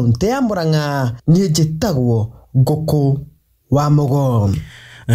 kaunti ya Murang'a. Niĩ njĩtagwo Ngũkũ wa Mũgo.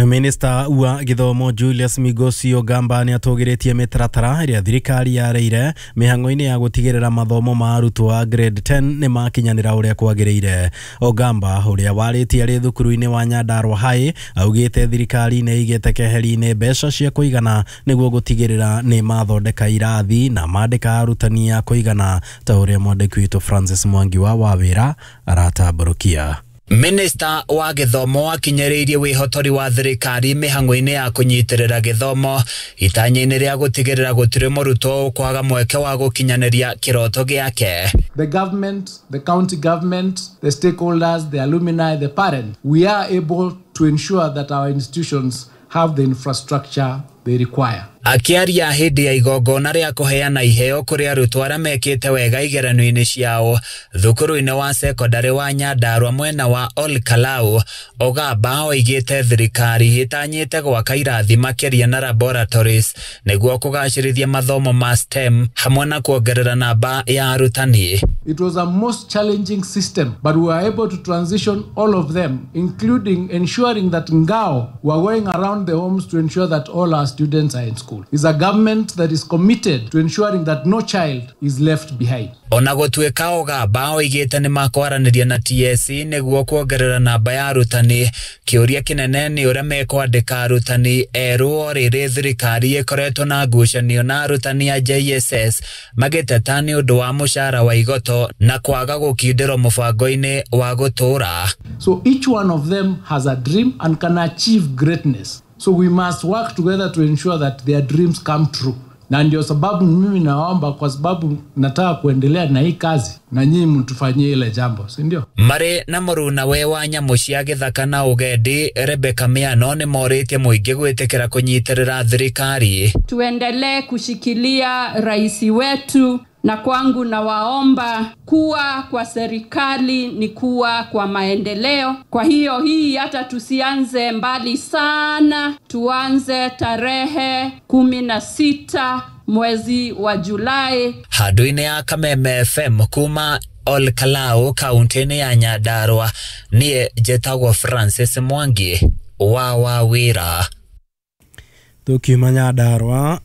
Minista wa gĩthomo Julius Migosi Ogamba nĩ atũgĩrĩtie mĩtaratara ĩrĩa thirikari yarĩire mĩhang'o-inĩ ya gũtigĩrĩra mathomo ma arutwo a grade 10 nĩ makinyanĩra ũrĩa kwagĩrĩire. Ogamba ũrĩa warĩtie arĩ thukuru-inĩ wa Nyandarua High augĩte thirikari nĩ ĩigĩte keheri-inĩ mbeca cia kũigana nĩguo gũtigĩrĩra nĩ mathondeka irathi na mandĩka arutani a kũigana ta ũrĩa mwandĩki witũ Francis Mwangi wa Wawĩra aratambũrũkia. Minista wa gĩthomo akinyĩrĩirie wĩhotori wa thirikari mĩhang'o-inĩ ya kũnyitĩrĩra gĩthomo itanya-inĩ rĩa gũtigĩrĩra gũtirĩ mũrutwo ũkwaga mweke wa gũkinyanĩria kĩroto gĩake. The government, the county government, the stakeholders, the alumni, the parents, we are able to ensure that our institutions have the infrastructure they require. Akiaria hĩndĩ ya igongona rĩa kũheana iheo kũrĩ arutwo arĩa mekĩte wega igeranio-inĩ ciao thukuru-inĩ wa sekondarĩ wa Nyandarua mwena wa Ol Kalou, Ogamba oigĩte thirikari ĩtanyĩte gwaka irathi makĩria na laboratories nĩguo kũgacĩrithia mathomo ma STEM hamwe na kuongerera namba ya arutani. It was a most challenging system, but we were able to transition all of them, including ensuring that Ngao were going around the homes to ensure that all our students are in school. It's a government that is committed to ensuring that no child is left behind. Ona gũtuĩka Ogamba oigĩte nĩ makwaranĩria na TSC nĩguo kuongerera namba ya arutani, kĩũria kĩnene nĩ ũrĩa mekwandĩka arutani erũ o rĩrĩ thirikari ĩkoretwo na ngucanio na arutani a JSS magĩteta nĩ ũndũ wa mũcara wa igoto na kwaga gũkindĩrwo mũbango-inĩ wa gũtũũra. So each one of them has a dream and can achieve greatness. So we must work together to ensure that their dreams come true. Na ndio sababu mimi naomba, kwa sababu nataka kuendelea na hii kazi na nyinyi mtufanyie ile jambo, si ndio? Marĩ na mũrunawe wa nyamũ cia gĩthaka na ũgendi Rebecca Miano nĩ morĩtie mũingĩ gwĩtĩkĩra kũnyitĩrĩra thirikari. Tuendelee kushikilia rais wetu, na kwangu nawaomba kuwa kwa serikali ni kuwa kwa maendeleo. Kwa hiyo hii hata tusianze mbali sana, tuanze tarehe 16 mwezi wa Julai. Handũ-inĩ ya Kameme FM kuma Ol Kalou kaunti-inĩ ya Nyandarua, niĩ njĩtagwo Francis Mwangi wa Wawĩra. Tukiuma Nyandarua,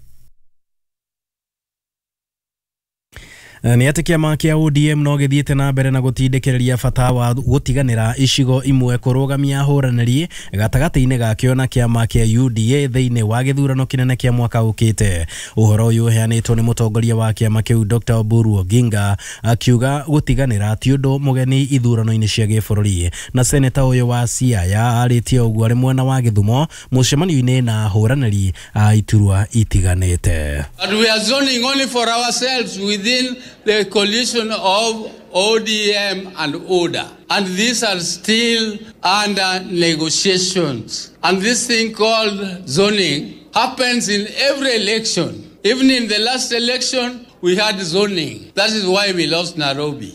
nĩ atĩ kĩama kĩa ODM no gĩthiĩte na mbere na gũtindĩkĩrĩria bata wa gũtiganĩra icigo imwe kũrũgamia ahũranĩri gatagatĩ-inĩ gakĩo na kĩama kĩa UDA thĩinĩ wa gĩthurano kĩnene kĩa mwaka ũkĩte. Ũhoro ũyũ ũheanĩtwo nĩ mũtongoria wa kĩama kĩu Dr. Oburu Oginga akiuga gũtiganĩra ti ũndũ mũgeni ithurano-inĩ cia gĩbũrũri. Na seneta ũyũ wa Siaya arĩtie ũguo arĩ mwena wa Gĩthumo mũcemanio-inĩ na ahũranĩri a iturwa itiganĩte. But we are zoning only for ourselves within the coalition of ODM and ODA. And these are still under negotiations. And this thing called zoning happens in every election. Even in the last election, we had zoning. That is why we lost Nairobi.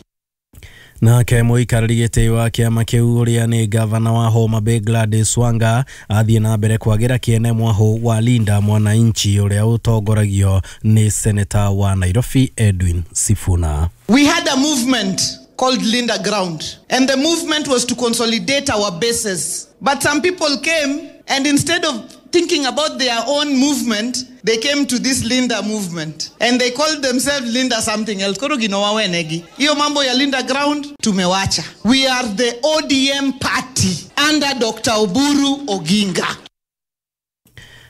Nake mũikarĩri gĩtĩ wa kĩama kĩu ũrĩa nĩ gavana wa Homa Bay Gladys Wanga athiĩ na mbere kwagĩra kĩene mwahũ wa Linda Mwananchi ũrĩa ũtongoragio nĩ seneta wa Nairobi Edwin Sifuna. We had a movement called Linda Ground, and the movement was to consolidate our bases. But some people came, and instead of thinking about their own movement, they came to this Linda movement, and they called themselves Linda something else. Koro ginowa wenegi. Iyo mambo ya Linda Ground tumewacha. We are the ODM party under Dr. Oburu Oginga.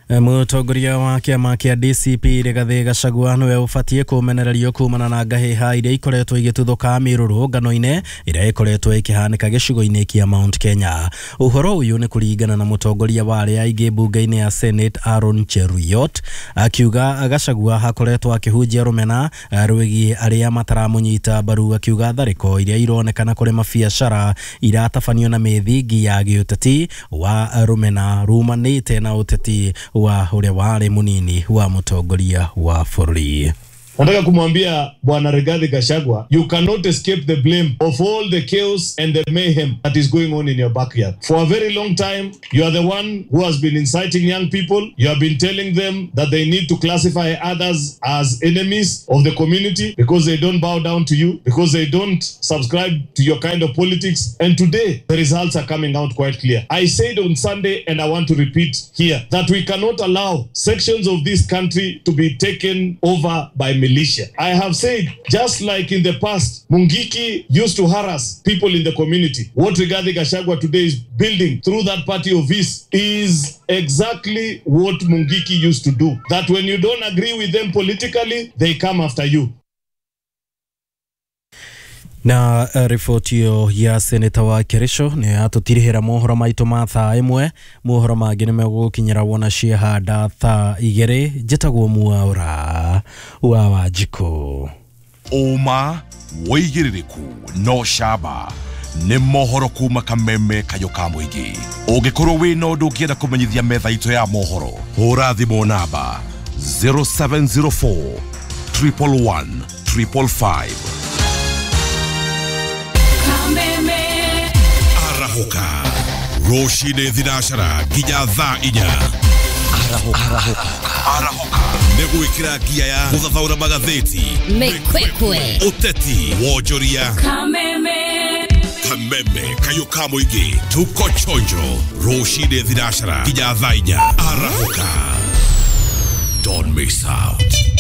Mũtongoria wa kĩama kĩa DCP Rigathĩ Gachagua nĩwe ũbatiĩ kũmenererio kumana na ngahĩha iria ikoretwo igĩtuthũka mĩrũrũngano-inĩ ĩrĩa ĩkoretwo ĩkĩhanĩka gĩcigo-inĩ kĩa Mount Kenya. Ũhoro ũyũ nĩ kũringana na mũtongoria wa arĩa aingĩ mbunge-inĩ ya Senate Aaron Cheruiyot akiuga Gachagua akoretwo akĩhunjia rũmena rwĩgiĩ arĩa mataramũnyita mbaru, akiuga tharĩko iria ironekana kũrĩ mabiacara iratabanio na mĩthingi ya gĩũteti wa rũmena rumanĩte na ũteti wa ũrĩa warĩ mũnini wa mũtongoria wa bũrũri. Nataka kumwambia Bwana Rigathi Gachagua, you cannot escape the blame of all the chaos and the mayhem that is going on in your backyard. For a very long time, you are the one who has been inciting young people. You have been telling them that they need to classify others as enemies of the community because they don't bow down to you, because they don't subscribe to your kind of politics. And today, the results are coming out quite clear. I said on Sunday, and I want to repeat here, that we cannot allow sections of this country to be taken over by militia. I have said, just like in the past, Mungiki used to harass people in the community. What Rigathi Gachagua today is building through that party of his is exactly what Mungiki used to do. That when you don't agree with them politically, they come after you. Na riboti ĩyo ya seneta wa Kericho nĩ yatũtirihĩra mohoro maitũ ma thaa 1. Mohoro mangĩ nĩ megũgũkinyĩra wona ciahanda thaa 2. Njĩtagwo Mwaura wa Wanjikũ. Ũma wĩigĩrĩrĩku no camba nĩ mohoro kuma Kameme kayũ ka mũingĩ. Ũngĩkorwo wĩna ũndũ ũngĩenda kũmenyithia metha itũ ya mohoro, hũra thimũ namba 0704 111 555. Arahoka rũcinĩ thinacara nginya thaa 4. Arahoka nĩ gwĩkĩra ngia ya gũthathaũra magathĩti, mĩkwekwe, ũteti, wonjoria. Kameme kayũ ka mũingĩ, tuko chonjo rũcinĩ thinacara nginya thaa 4. Arahoka, don't miss out.